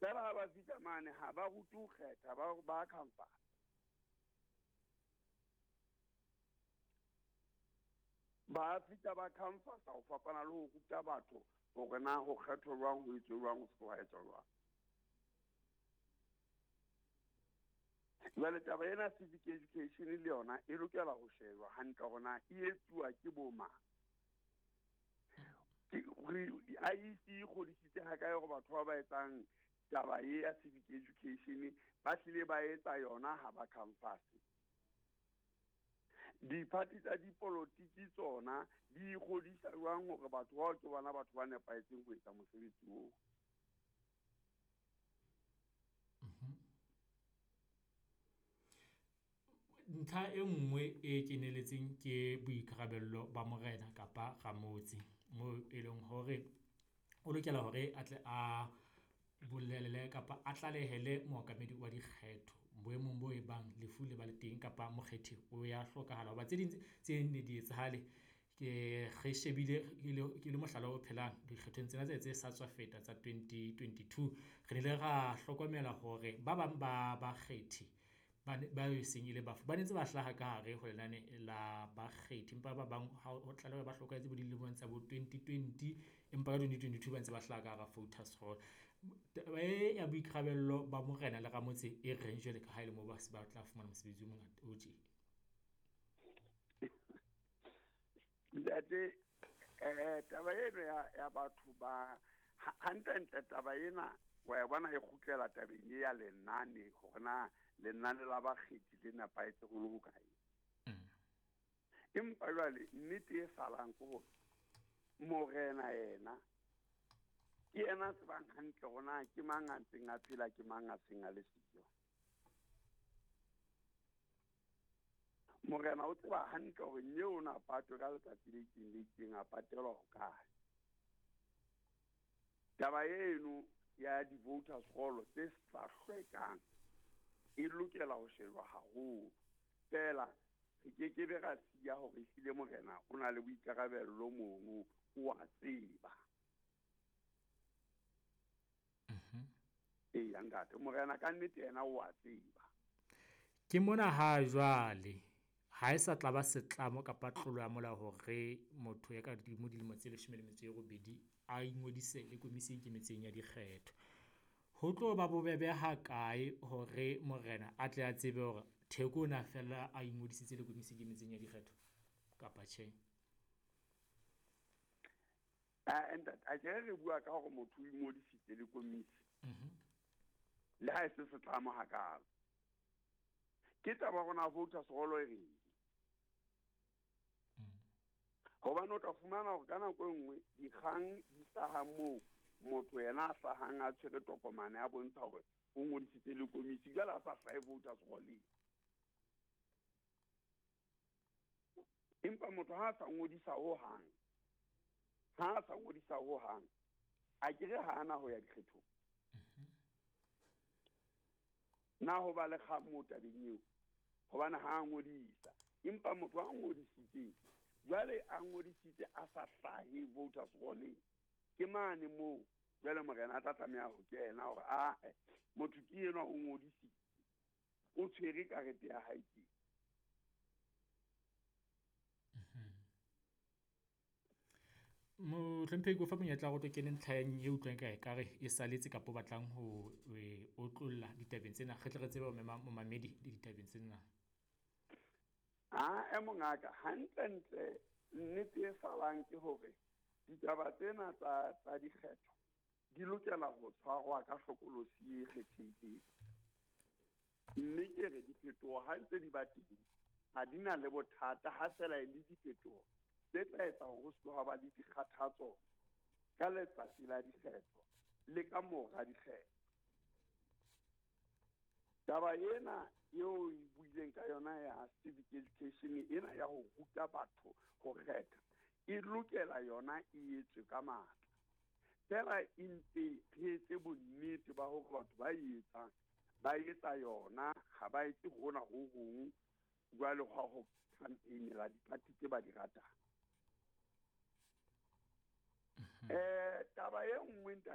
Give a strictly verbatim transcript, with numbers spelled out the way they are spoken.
Fela ha ba fihla mane ha ba rute ho kgetha, ba ba khamphani. Ba fihla ba khamphasa ho fapana le ho ruta batho hore na ho kgethwa jwang, ho etswe jwang, ho se ke etswa jwang. Jwale taba ena civic education le yona e lokela ho shejwa hantle hore na e etsuwa ke bo mang. I E C e kgodisitse ha kae hore batho ba ba etsang taba e ya civic education ba hlile ba etsa yona ha ba campus. Diphathi tsa dipolotiki tsona di ikgodisa jwang hore batho bao ke bona batho ba nepahetseng ho etsa mosebetsi oo. Ntlha e nngwe e keneletseng ke boikarabello ba morena kapa ramotse, moo e leng hore o lokela hore a tle a bolelle kapa a tlalehele mookamedi wa dikgetho boemong bo e bang lefu le ba le teng kapa mokgethi o ya hlokahala. Hoba tse ding tse ne di etsahale ke re shebile ke le mohlala o phelang dikgethong tsena tse tse sa tswa feta tsa twenty twenty-two. Re ile ra hlokomela hore ba bang ba bakgethi ba ne ba e seng e le bafu, ba ne ntse ba hlaha ka hare ho lenane la bakgethi. Empa ba bang ha ho tlaleha ba hlokahetse bo dilemong tsa bo twenty twenty, empa ka twenty twenty-two ba ntse ba hlaha ka hara voters roll. Taba e ya boikarabello ba morena le ramotse e reng jwale ka ha e le moo ba se ba tla fumana mosebetsi o mongata o tje. Ntate, eh, taba eno ya, ya batho ba hantlentle taba ena wa e bona e kgutlela tabeng e ya lenane hore na lenane la bakgethi le nepahetse ho le hokae. Empa jwale nnete e salang ke hore morena yena ke yena a tsebang hantle hore na ke mang a ntseng a phela, ke mang a seng a le siyo. Morena o tseba hantle hore nyeo o na patwe ka letsatsi le itseng le itseng, a patelwa hokae. Taba eno ya di-voters roll tse sa hlwekang e lokela ho shejwa haholo. Fela re ke ke be ra siya hore ehlile morena o na le boikarabello mono, o a tseba. Eya ntate, morena ka nnete yena o a tseba. Ke mona ha jwale ha e sa tla ba setlamo kapa tlolo ya molao hore motho ya ka hodimo dilemo tse leshome le metso e robedi a ingodise le komisi e ikemetseng ya dikgetho. Ho tlo ba bobebe ha kae hore morena a tle a tsebe hore Theko o na fella a ingodisitse le komisi e ikemetseng ya dikgetho kapa tjhe? Ah, ntate, a ke re bua ka hore motho o ingodisitse le komisi. Le ha e se setlamo hakalo. Ke taba rona voters roll e reng. Hobane o tla fumana hore ka nako e nngwe dikgang di hlaha moo motho yena a hlahang a tshwere tokomane a bontsha hore o ngodisitse le komisi, jwale a sa hlahe voters roll-eng. Empa motho ha a sa ngodisa hohang, ha a sa ngodisa hohang, a ke re ha ana ho ya dikgethong. Na ho ba le kgang moo tabeng eo? Hobane ha a ngodisa, empa motho a ngodisitseng jwale a ngodisitse a sa hlahe voters roll-eng, ke mane moo jwale morena a tla tlameha ho kena hore ae motho ke enwa o ngodisitse, o tshwere karete ya hae ke. Mohlomphehi, ke o fa monyetla wa hore o tlo kene ntlheng e utlwang ka ekare e saletse kapa o batlang ho e otlolla ditabeng tsena, re tle re tsebe ho mema momamedi le ditabeng tsena. Ah, e mongaka, hantlentle nnete e salang ke hore ditaba tsena tsa, tsa dikgetho di lokela ho tshwarwa ka hlokolosi e kgethehileng. Mme ke re diphetoho ha ntse di ba teng, ha di na le bothata ha fela e le diphetoho tse tla etsa hore ho se ke ha ba le dikgathatso ka letsatsi la dikgetho le ka mora dikgetho. Taba ena eo e buileng ka yona ya civic education ena ya ho ruta batho ho kgetha e lokela yona e etswe ka matla. Fela e mpe re etse bonnete ba hore batho ba e etsang ba etsa yona, ha ba etse hona ho hong jwale hwa ho campaign-ela diphathi tse ba di ratang. Eh, taba e nngwe ntate